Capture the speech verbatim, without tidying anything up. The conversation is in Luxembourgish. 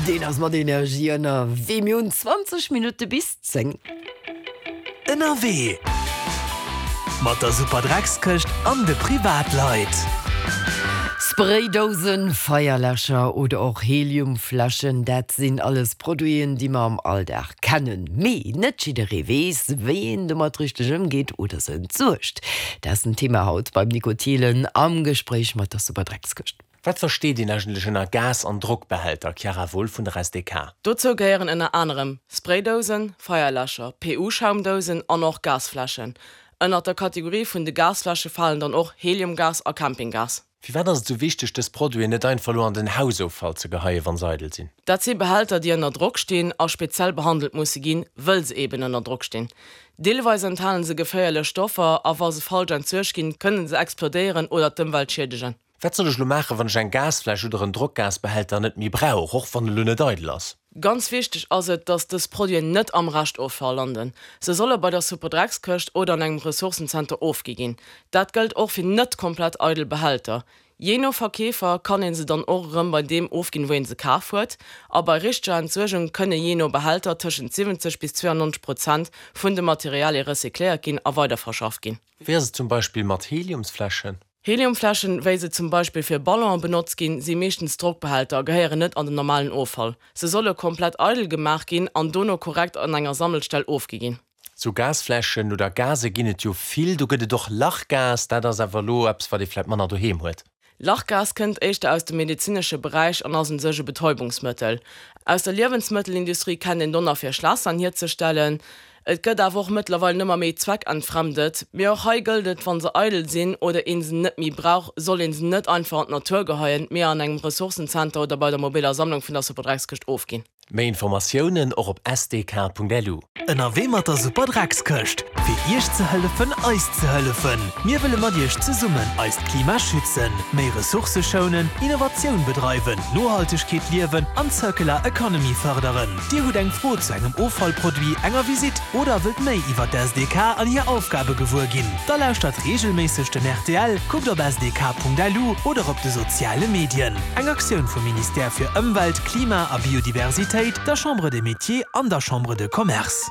Deen ass mat Energie ënnerwee. Mir hunn zwanzeg Minutte bis zéng. Ënnerwee mat der Superdreckskëscht an de Privatleit. Spraydousen, Feierläscher oder och Heliumfläschen, dat sinn alles Produiten, déi mer am Alldag kennen. Mee net jidderee weess, wéi een domat richteg ëmgeet oder se entsuergt. Dat ass den Thema haut beim Nico Thielen am Gespréich mat der Superdreckskëscht. Wat versteet een eigentlech ënner Gas an Drockbehälter, Chiara Wolff vun der S D K? Dozou gehéieren ënner anerem Spraydousen, Feierläscher, P U-Schaumdousen an och Gasfläschen. Ënnert der Kategorie vun de Gasfläsche falen dann och Heliumgas a Campinggas. Firwat ass et sou wichteg, dës Produiten net einfach elo an den Hausoffall ze geheien, wa se eidel sinn? Dat si Behälter, déi ënner Drock stinn a speziell behandelt musse ginn, wëll se eben ënner Drock stinn. Deelweis enthalen se geféierlech Stoffer a wa se falsch entsuergt ginn, kënne se explodéieren oder d'Ëmwelt schiedegen. Wat soll ech elo maachen, wann ech eng Gasfläsch oder en Drockgasbehälter net méi brauch, och wann en elo net eidel ass? Ganz wichteg ass et, dass dës Produiten net am Reschtoffall landen. Se solle bei der Superdreckskëscht oder an engem Ressourcenzenter ofgi ginn. Dat gëllt och fir net komplett eidel Behälter. Jee no Verkeefer kann een se dann och erëm bei deem ofginn, wou een se kaf huet. A bei richteger Entsuergung kënne jee no Behälter tëschent siwwenzeg bis zweeanneunzeg Prozent vun de Materialie recycléiert ginn a weiderverschafft ginn. Wéi ass et zum Beispill mat Heliumsfläschen? Heliumfläschen, wéi se zum Beispill fir Ballonen benotzt ginn, si meeschtens Drockbehälter a gehéieren net an den normalen Offall. Se solle komplett eidel gemaach ginn an dono korrekt an enger Sammelstell ofgi ginn. Sou Gasfläschen oder Gase ginn et jo vill, do gëtt et och Lachgas, dat ass awer elo eppes, wat ee vläicht manner doheem huet. Lachgas kënnt éischter aus dem medezinesche Beräich an ass un sech e Betäubungsmëttel. Aus der Liewensmëttelindustrie kennt een Donner fir Schlassahn hierzestellen. Et gëtt awer och mëttlerweil ëmmer méi zweckentfremdet. Mee och hei gëllt et, wa se eidel sinn oder een se net méi brauch, soll een se net einfach an d'Natur geheien, mee an engem Ressourcenzenter oder bei der mobiler Sammlung vun der Superdreckskëscht ofginn. Méi Informatiounen och op S D K Punkt L U. Ënnerwee mat der Superdreckskëscht. Fir Iech ze hëllefen, eis ze hëllefen. Mir wëlle mat Iech zesummen eist Klima schützen, méi Ressourcë schounen, Innovatioun bedreiwen, Nohaltegkeet liewen an Circular Economy fërderen. Dir hutt eng Fro zu engem Offallproduit, enger Visitt oder wëllt méi iwwer d'S D K an hir Aufgabe gewuer ginn? Da lauschtert reegelméisseg den R T L, kuckt op S D K Punkt L U oder op de soziale Medien. Eng Aktioun vum Ministère fir Ëmwelt, Klima a Biodiversitéit, der Chambre des Métiers an der Chambre de Commerce.